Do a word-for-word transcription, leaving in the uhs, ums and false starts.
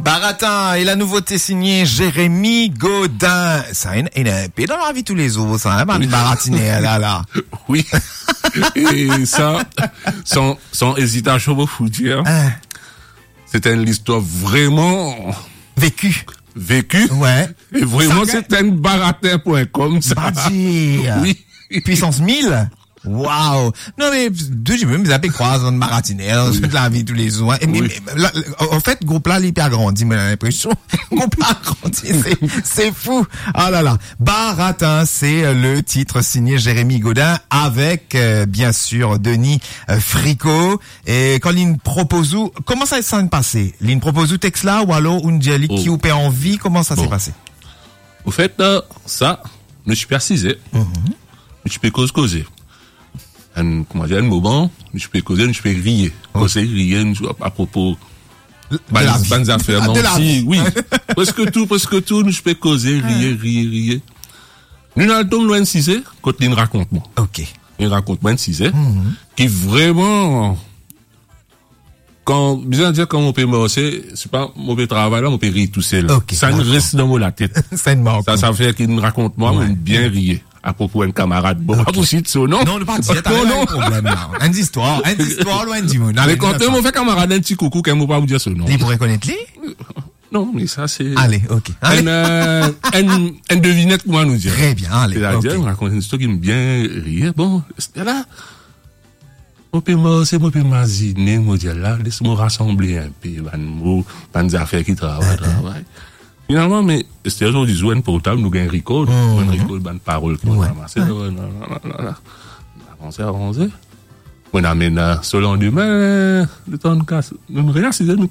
Baratin, e la nouvote signe Jérémy Godin. Sa inn, inn inpe dan lavi toulezour, sa, hein, bann baratiner la, la. Oui. E sa, san, san ezitasion, mo pou dir, hein, se enn listwar vreman veki. Veki. Ouais. E vreman, se enn baratin pwin kom sa. Pa dir. Oui. Puissance mille. Waw. Non, me tou dimoun, bizin pe krwar bann baratiner dan lavi toulezour, hein. E, me, la, an, an fet, group la, li pe agrandi, mo ena linpresion. Group la agrandi, se, se fou. Ah la la. Baratin, se, euh, le tit signe Jérémy Godin avek, euh, bien sir, Denis, euh, Fricot. E kan linn propoz ou, kouma sa, sa inn pase? Linn propoz ou text la, ou alor ou dir li ki ou pe anvi, kouma sa se pase? An fet, euh, sa, nou ti pe asize, nou ti pe koz koze. Enn, kouma dir, enn moman, nou ti pe koze, nou ti pe riye. Koze, riye, nou, apropo bann, bann zafer, manti, oui. Preske tou, preske tou, nou ti pe koze, riye, riye, riye. Nou al tom lor enn size, kot linn rakont mwa. Ok. Linn rakont mwa enn size, ki vreman, kan, bizin dir, kan mo pe marse, se pa mo pe travay la, mo pe rir tousel. Ok, dakor. Sa inn res dan mo latet. Sa inn mark ou. Sa, sa fer ki linn rakont mwa, mo bien riye. Apropo enn kamarad. Bon, pa pou sit so non. Non, nou pa dir, non, non. Problem la. Enn zistwar, enn zistwar, lor enn dimoun. Ale, nou fer kamarad enn ti koukou, kan mo pa pou dir so non. Li pou rekonet li? Non, me sa se... Ale, ok. Ale. Enn, euh, enn, enn devinet, kouma nou dir. Tre bien, ale, ok. Setadir, mo rakont enn zistwar ki inn bien riye. Bon, la, mo pe marse, mo pe mazine, mo dir la, les mo rasanble inpe bann mo, bann zafer ki travay, travay. Finalman, me, ester zordi zour, enn portab, nou gagn record, bann record, bann parol ki nou ranmase, la, la, la, la, la. Avanse, avanse. Mo amenn, euh, so landime, euh, letan nou kas, nou reasize, nou